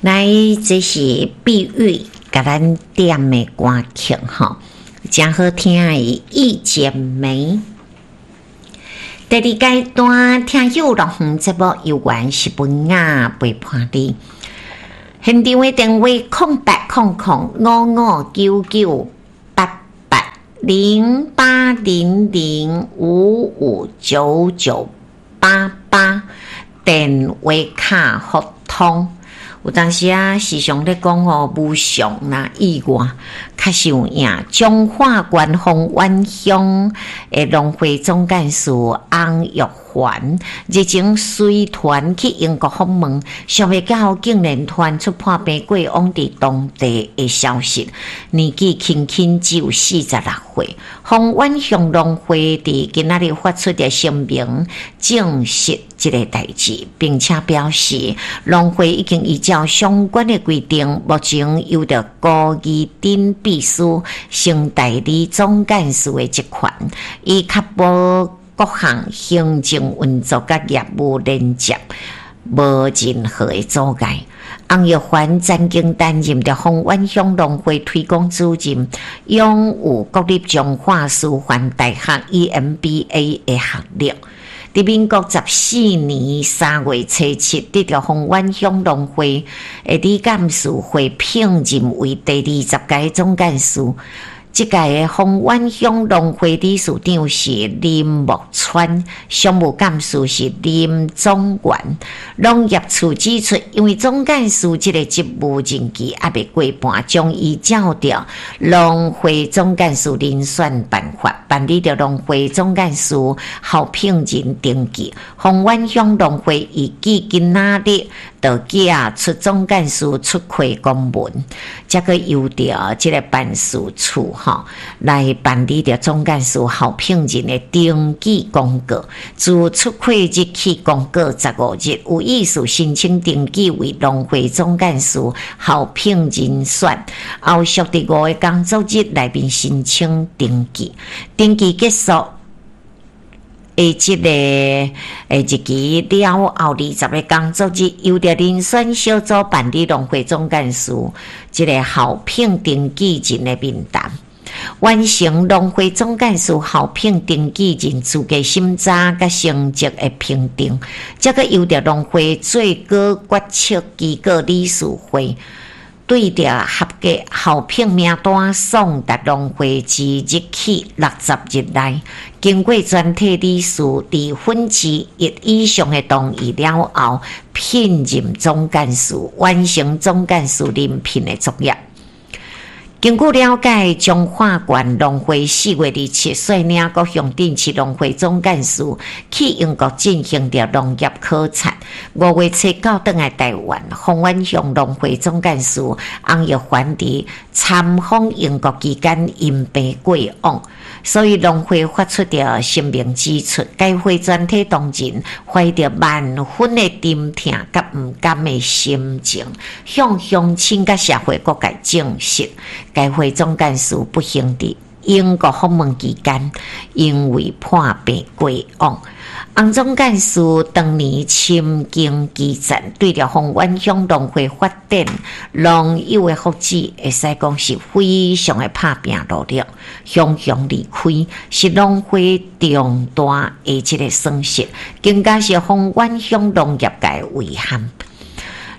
來，這是碧玉共咱點的歌曲吼，誠好聽的《一剪梅》。第二階段聽友樂園節目，猶原是文雅陪伴你。現場的電話08005599880800559988，電話卡互通。有當時啊，時常咧講吼，無常啦，意外，確實有影。彰化縣豐原鄉的農會總幹事翁玉環日前隨團去英國訪問，想袂到竟然傳出破病過往佇當地的消息。年紀輕輕只有46歲。豐原鄉農會佇今仔日發出的聲明，證實這个代誌，並且表示農會已經依照相關的規定，目前由著高義鼎秘書先代理總幹事的職權，以確保各項行政運作佮業務連接無任何的阻礙。翁玉環曾經擔任著豐原鄉農會推廣主任，擁有國立彰化師範大學 EMBA 的學歷。佇民國14年3月初7，得著豐原鄉農會的理監事會聘任為第20屆總幹事。這屆的豐原鄉農會理事長是林木川，常務幹事是林總元。農業處指出，因為總幹事這个職務任期猶未過半，將依照著農會總幹事遴選辦法辦理著農會總幹事候聘人登記。豐原鄉農會預計今仔日就寄出總幹事出缺公文，才閣由著這个辦事處吼來辦理著總幹事候聘人的登記公告。自出缺日起公告15日，有意思申請登記為農會總幹事候聘人選，後續佇5个工作日內面申請登記。登記結束的這个日期了後，20个工作日，由著遴選小組辦理農會總幹事這个候聘登記人的面談。完成農會總幹事候聘登記人資格審查佮成績的評定，才閣由著農會最高決策機構理事會對著合格候聘名單送達農會之日起60日內，經過全體理事1/2以上的同意了後，聘任總幹事，完成總幹事遴聘的作業。根據了解，彰化縣農會4月27率領各鄉鎮市農會總幹事去英國進行著農業考察。5月初9轉來台灣，豐原鄉農會總幹事翁玉環佇參訪英國期間因病過往，所以農會發出著聲明指出，該會全體同仁懷著萬分的沉痛佮毋甘的心情，向鄉親佮社會各界證實，該會總幹事不幸佇英國訪問期間，因為破病過往。翁總幹事當年深耕基層，對著豐原鄉農會發展、農友的福祉，會使講是非常的拍拚努力。雄雄離開是農會重大的這個損失，更加是豐原鄉農業界的遺憾。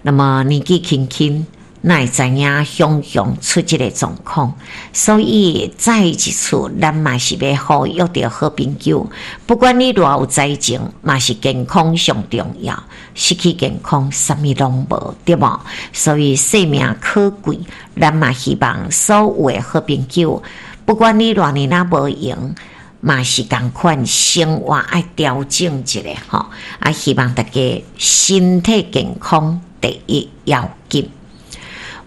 那麼年紀輕輕，哪會知影雄雄出這個狀況？所以再一次，咱嘛是欲呼籲著好朋友，不管你偌有才情，嘛是健康上重要。失去健康，啥物攏無，對無？所以生命可貴，咱嘛希望所有的好朋友，不管你偌年仔無閒，嘛是仝款生活愛調整一下吼。啊，希望大家身體健康第一要緊。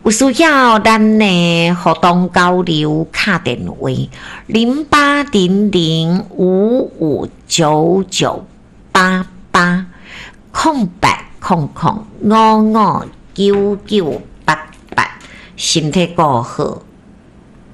有需要咱的互動交流敲電話08005599880800559988，身體顧好。